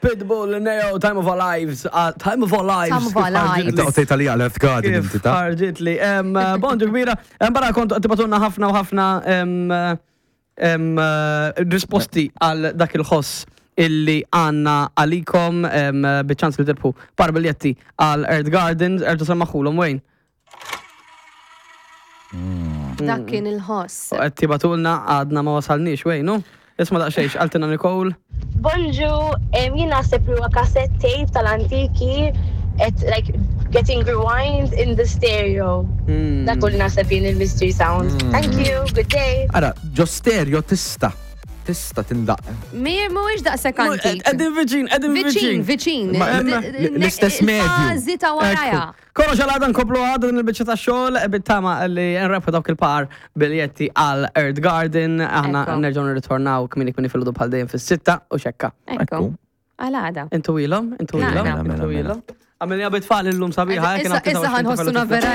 Pitbull, Neo, Time of Our Lives, ah, Time of Our Lives. Time of Our Lives. Inta qtejt għalija għal Earth Garden Kif inti ta' ħarġit li. Bonġu kbira, barra kont tibatunna ħafna u ħafna em, em, eh, risposti għal dak il-ħoss illi għanna għalikom biċ-ċans li tirbħu par biljetti għal Earth Gardens, erġa' semmaħulhom Wayne. Dak kien il-ħoss. U qed tibatulna għadna ma wasalniex Wayne, hu? Isma' daqsxejn x'qaltilna Nicole. Bonġu, jien naħseb li huwa cassette tape tal-antiki qed like getting rewind in the stereo. Dak hu li naħseb jien il-mystery sound. Thank you, good day. Ara, ġo stereo tista' tista' tindaq. Mi mhuwiex daqshekk antik. Qegħdin viċin, qegħdin Viċin, viċin. viċin. Ma- l-istess medju. Il-fażi ta' warajha. Kollox għal għada nkomplu għada din il-biċċa ta' xogħol bit-tama li nrebħu dawk il-par biljetti għal Earth Garden. Aħna Ekku. nerġgħu nirritornaw kmieni kmieni filgħodu bħal dejjem fis-sitta u xekka. Ekku. Għal għada. Intu ilhom, intu Mela, ilhom, mela, intu mela. ilhom. Għamilni bit-tfal illum sabiħa. Issa ħanħossuna vera.